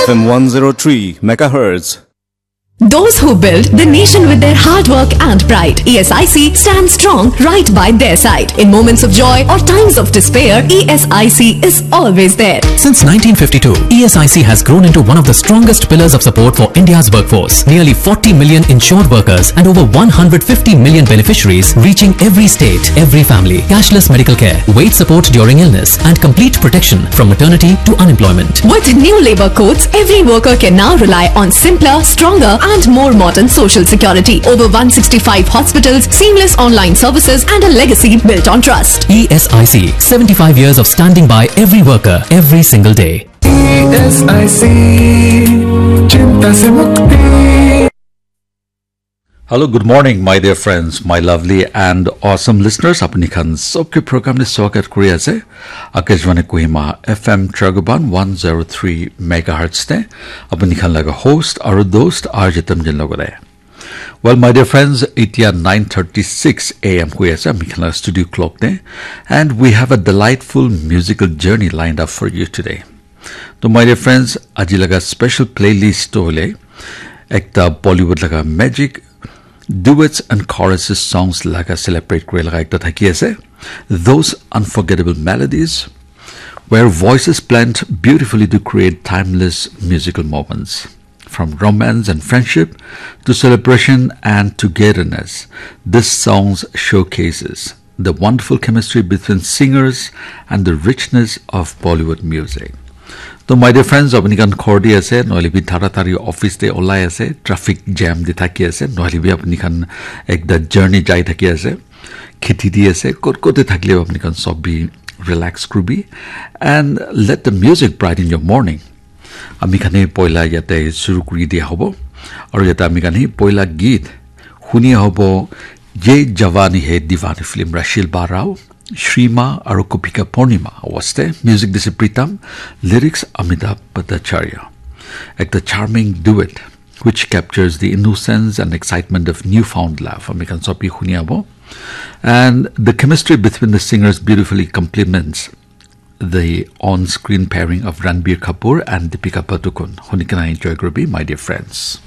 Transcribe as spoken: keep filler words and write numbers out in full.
F M one zero three megahertz. Those who build the nation with their hard work and pride. E S I C stands strong right by their side. In moments of joy or times of despair, E S I C is always there. Since nineteen fifty-two, E S I C has grown into one of the strongest pillars of support for India's workforce. Nearly forty million insured workers and over one hundred fifty million beneficiaries, reaching every state, every family. Cashless medical care, wage support during illness, and complete protection from maternity to unemployment. With new labor codes, every worker can now rely on simpler, stronger, and more modern social security. Over one sixty-five hospitals, seamless online services, and a legacy built on trust. E S I C, seventy-five years of standing by every worker, every single day. E S I C, चिंता से मुक्ति। Hello, good morning, my dear friends, my lovely and awesome listeners. Apni khan sobke program te swagat kuri ase. Akashvani Kohima F M Tragoban one zero three megahertz te. Apni khan laga host aru dost R J Tamjin logore. Well, my dear friends, itia nine thirty-six A M hui ase, ami khan laga studio clock te. And we have a delightful musical journey lined up for you today. To my dear friends, aji laga special playlist to hole ekta Bollywood laga magic duets and choruses songs laga celebrate kore laga ekta thaki ase. Those unforgettable melodies where voices blend beautifully to create timeless musical moments. From romance and friendship to celebration and togetherness, this songs showcases the wonderful chemistry between singers and the richness of Bollywood music. To my dear friends, apni khan ghor te ase, nohole bi tara tari office te olai ase, traffic jam te thaki ase, nohole bi apni khan ekta journey jai thaki ase, kheti te ase, kot kot te thakile apni khan sob bi relax kuribi and let the music brighten your morning. Ami khan he poila yate shuru kuri dia hobo. Aru yate ami khan he poila geet huni hobo, Ye Jawani Hai Deewani film, Rashil Barao, Shrima aru Kopika Purnima awaste. Music dise Pritam, lyrics Amitabh Bhattacharya. Ekta charming duet which captures the innocence and excitement of newfound love. Ami khan sob bi huni hobo. And the chemistry between the singers beautifully complements the on-screen pairing of Ranbir Kapoor and Deepika Padukone. Huni kena enjoy kuribi, my dear friends.